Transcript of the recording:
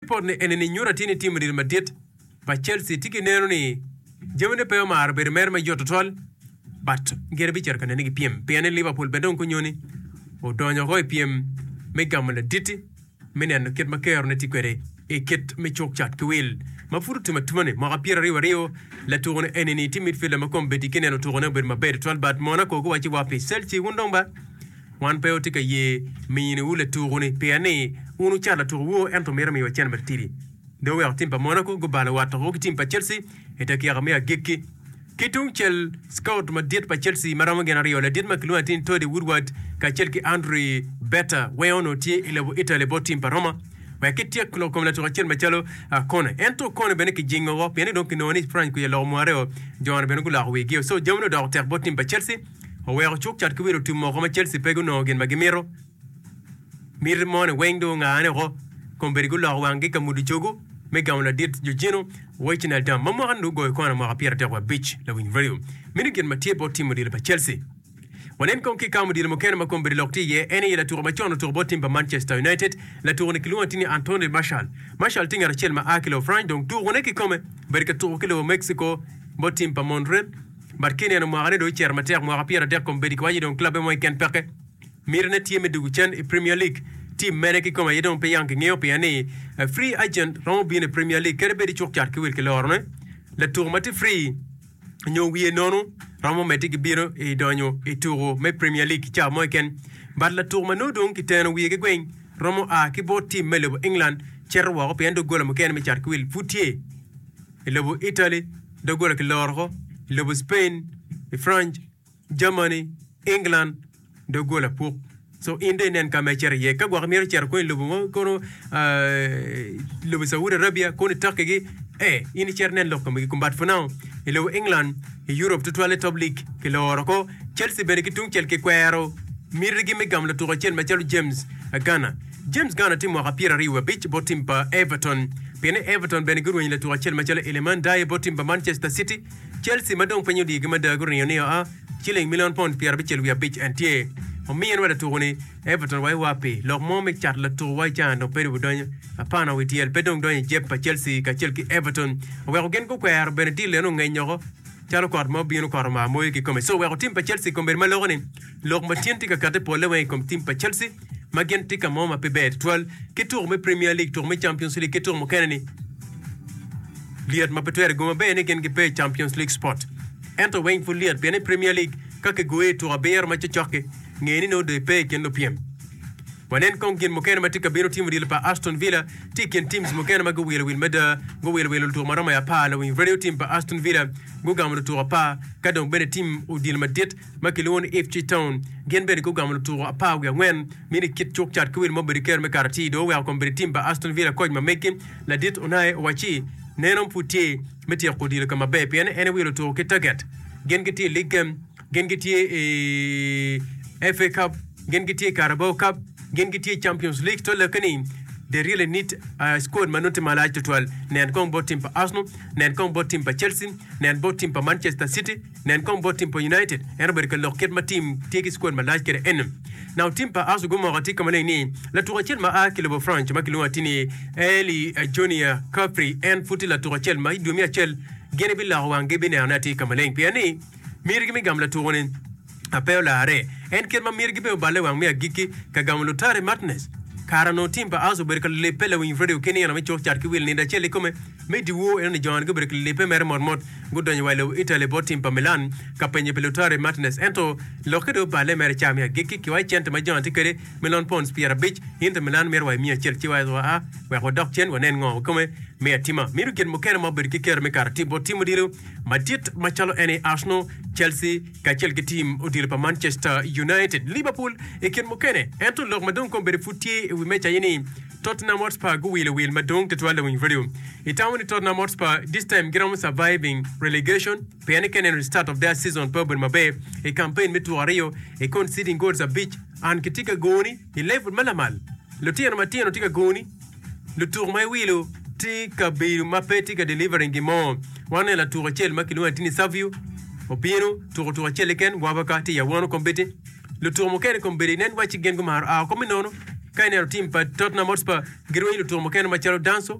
Ripot ni eni ni nyuto atir ni tim odilo madit pa Chelsea tye ki neno ni jamine pe omaro bedo mere mayot tutwal but gin bicito ka nene ki pyem pien ni Liverpool bene dong kunyoni odonyo oko i pyem me gamo laditi me neno kit ma kerone tye kwede i kit me cuk cat ki wil ma pud otum atuma ni mwaka 22 latuko ni eni ni tye midfielder ma kombeddi ki neno tukone obedo maber tutwal but Monaco guwacci wa pi Chelsea wun dong ba Wan pe watye ka ye miniwu latuku-ni pien ni wun wucato latukuwu ento mito miyowa cente matitidi. Dong oweko tim pa Monaco gubalo wat woko ki tim pa Chelsea i dakika me agikki. Ki tungcel, scout madit pa Chelsea ma romo gin aryo, ladit ma kilwongo atir ni Toddy Woodward kacel ki Andrew Berta weng onongo tye i lobo Italy bot tim pa Roma wek kityek lok kom latuku acel macalo Kone. Ento Kone bene kijingo woko pien ni dong kinongo ni Franc kwica loko mwareo, jo-ni bene guloko wigi. So jamine odoko tek bot tim pa Chelsea. Oweko cuk cat ki wilo tum oko ma Chelsea pe gunongo gin ma gimito. Miti moni weng dong ongane oko. Kombeddi guloko wanggi ka mudo cogo me gamo ladit Jorginho Wijnaldum ma mwaka-ni dong ogoyo kona mwaka 35. Lawiny Radio meno gin ma tye bot tim odilo pa Chelsea. Wanen kong ki i kam odilo mukene ma kombeddi lok tye iye. En aye latuko macon otuko bot tim pa Manchester United. Latuko-ni kilwongo atir ni Anthony Martial. Martial tye ngat acel ma a ki lobo France dong tukone kikome bedo ka tuko ki lobo Mexico bot tim pa Monterrey. But ki ineno mwaka ne dong ocito matek, mwaka 30 kombeddi kiwaco ni dong clubbe mo keken peke. Miti ne tye me dugu cen i Premier League. Team mene kikome aye dong pe yang kingeyo pien ni free agent romo bino i Premier League kadi bed icuk cat ki wil ki loro ne. Latuko ma tye free nyo wiye nono romo medde ki bino i donyo i tuko me Premier League cawa mo keken. But latuko ma nongo dong kiteno wiye ki gweng romo a ki bot team me lobo England cito woko pien doggola mukene me cat ki wil pud tye. I lobo Italy, doggola kiloro oko. I lobo Spain, i France, Germany, England, doggola puk. So in dong inen ka ma icito iye. Ka gwok imito cito kono i lobo mo kono lobo Saudi Arabia kono i Turkey gi, eh in icit inen lok komgi. But for now, i lobo England, i Europe tutwalle top league kiloro oko. Chelsea bene ki tungcel kikwero mitigi me gamo latuko acel macalo James Garner. James Garner tye mwaka 25 bot tim pa Everton. Pien ni Everton bene gurwenyo latuko acel macalo Iliman Ndiaye bot tim pa Manchester City, Chelsea ma dong piny odiyogi mada guringo ni oa ciling milion pond 75 en tye ominwa latuko-ni. Everton wa iwa pi lok mo me cato latuko wa i caa dong pe dong apana wi tyel pe dong donyo i jeb pa Chelsea kacel ki Everton oweko gin gukwero bene deal eno ongeny oko calo kot ma obino kot omar moyo kikome. So oweko tim pa Chelsea kombeddi ma loko ni lok ma tyen tye ka kati polle weng i kom tim pa Chelsea. ma gin tye ka mo ma pe ber tutwal ki tuko me Premier League, tuko me Champions League ki tuko mukene ni lyet ma pe twere go maber ni gin gipe i Champions League spot. Ento weng pud lyet pien i Premier League ka kigoyi i tuko abiro ma cokcok-ki, nge ni nongo dong ipe i kin lupyem. Wanen kong gin mukene ma tye ka bino. Tim odilo pa Aston Villa tye i kin teams mukene ma guwilo wil mada. Guwilo wil lutuko ma romo i apar. Lawiny Radio Team pa Aston Villa gugamo lutuko apar ka dong bene tim odilo madit ma kilwongo ni Ipswich Town gin bene gugamo lutuko 14 mini kit cuk cat ki wil ma obedo ker me kato atir dong oweko kombeddi tim pa Aston Villa koc ma megi ladit Unai owacci neno pud tye me tyeko odilo ka maber pien en ewilo tuko ki target gin gitye i League Game gin gitye i FA Cup gin gitye i Carabao Cup gin gitye i Champions League to lokke ni they really need a squad ma nongo tye malac tutwal nen kong bot tim pa Arsenal nen kong bot tim pa Chelsea nen bot tim pa Manchester City Nen kong bot tim pa United, en obedo ka lok kit ma tim tye ki squad malac kwede eno. Now tim pa Arsenal gumoko atir ka maleng ni latuko acel ma a ki lobo France ma kilwongo atir ni Eli Junior Kafri en pud tye latuko acel ma i dwe me acel gin ibiloko wanggi binenone atir ka maleng pien ni mitigi me gamo latuko ni pe olarre. En kit ma mitigi bene oballe wang me agikki ka gamo Lautaro Martinez. Kara onongo tim pa Arsenal obedo ka libbe lawiny radio ki nino me cuk cat ki wil nindo acel ikome. Me dyewor eno ni jo-ni gubedo ki libbe mere motmot, gudonyo wa i lobo Italy bot tim pa Milan ka penyo pi Lautaro Martinez. Ento lokke dong oballe mere ca me agikki ki wa i cente ma jo-ni tye kwede, milion pounds 50, Inter Milan mito wa i miya acel ci wa a wek wadok cen wanen ngo kikome me atima. Mito gin mukene ma obedo ki kero me kato atir bot tim odilo madit macalo en aye Arsenal, Chelsea kacel ki tim odilo pa Manchester United, Liverpool i kin mukene. Ento lok ma dong kombeddi pud tye i wi meja aye ni Tottenham Hotspur guwilo wil madwong tutwal lawiny radio. Itamo ni Tottenham Hotspur this time giromo surviving relegation? Pien ni ka ineno start of their season pe obedo maber i campaign me tuko aryo i conceding goals abic and kitye ka goni i level ma lamal. Lutino matino tye ka goni, lutuko ma iwilo tye ka bedo ma pe tye ka delivering gin mo. Waneno latuko acel ma kilwongo atir ni Savio obino tuko tuko acel keken wabaka tye i awono kombeddi. Lutuko mukene kombeddi nen wacci gin gumaro a oko me nono. Ka ineno tim pa Tottenham Hotspur girwenyo lutuko mukene macalo Danso.